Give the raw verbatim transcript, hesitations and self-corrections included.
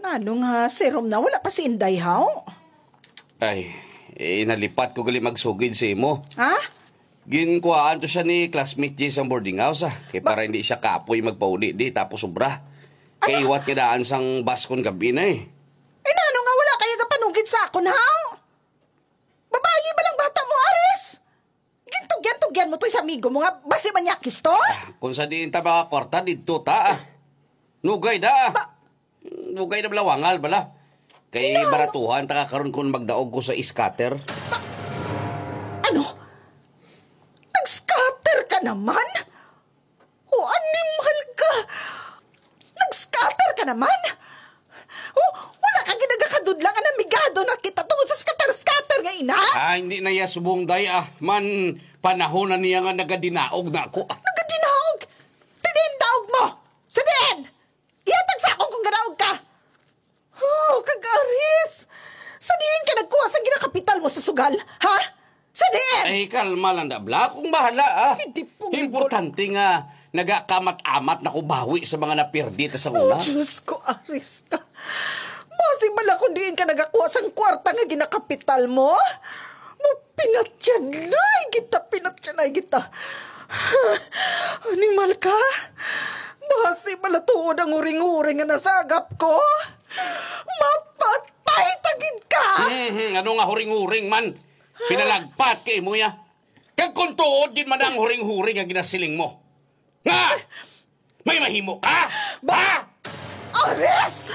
Ano nga, si Rom na wala pa si Inday, haw? Ay, eh, nalipat ko gali magsugid sa imo. Ha? Ginkuhaan to siya ni classmate Jay sa boarding house, ah. Kay Ba- para hindi siya kapoy magpauli di, tapos sobra. Ano? Kaiwat nga daan sang bus kon gabi na, eh. Eh, nano nga wala kaya gapanugid sa akon, haw? Babayi ba lang bata mo, Aris? Gintugyan-tugyan mo to sa amigo mo nga basi manyakis to? Ah, kung sa diin ta makakwarta, didto ta, ah. Nugay da, ah. Ba- Nugay na bala, wangal bala. Kay Ikaw? Baratuhan ta ka karon kung magdaog ko sa scatter. Ano? Nag-scatter ka naman? O, animal ka! Nag-scatter ka naman? O, wala ka ginagakadudla nga namigado na kita tungod sa scatter-scatter nga ina? Ah, hindi na iya subong, day, ah. Man, panahon na niya nga nagadinaog na ako. Nagadinaog? Tiniin daog mo! Sa diin? Ihatag sa akon kung ganaog ka! Oh, kag Aris! Sa diin ka nagkuha sa ginakapital mo sa sugal, ha? Sa diin? Ay, kalma lang, Dabla. Akong bahala, ah. Hindi po. Importante nga nagakamat-amat na ko bawi sa mga napirdi ta sa Oh, una. Diyos ko, Aris ka. Basi bala kung diin ka nagakuha sang kwarta nga ginakapital mo? Mo, pinatyanay kita, pinatyanay kita. Animal ka? Basi bala tuod ang uring-uring nga nasagap ko? Mapatay ta gid ka! Mhm, ano nga huring-huring man? Pinalagpat kay mo ya. Kag kung tuod gid man ang huring-huring nga ginasiling mo. Nga! May mahimo ka? Ba- Ha? Aris!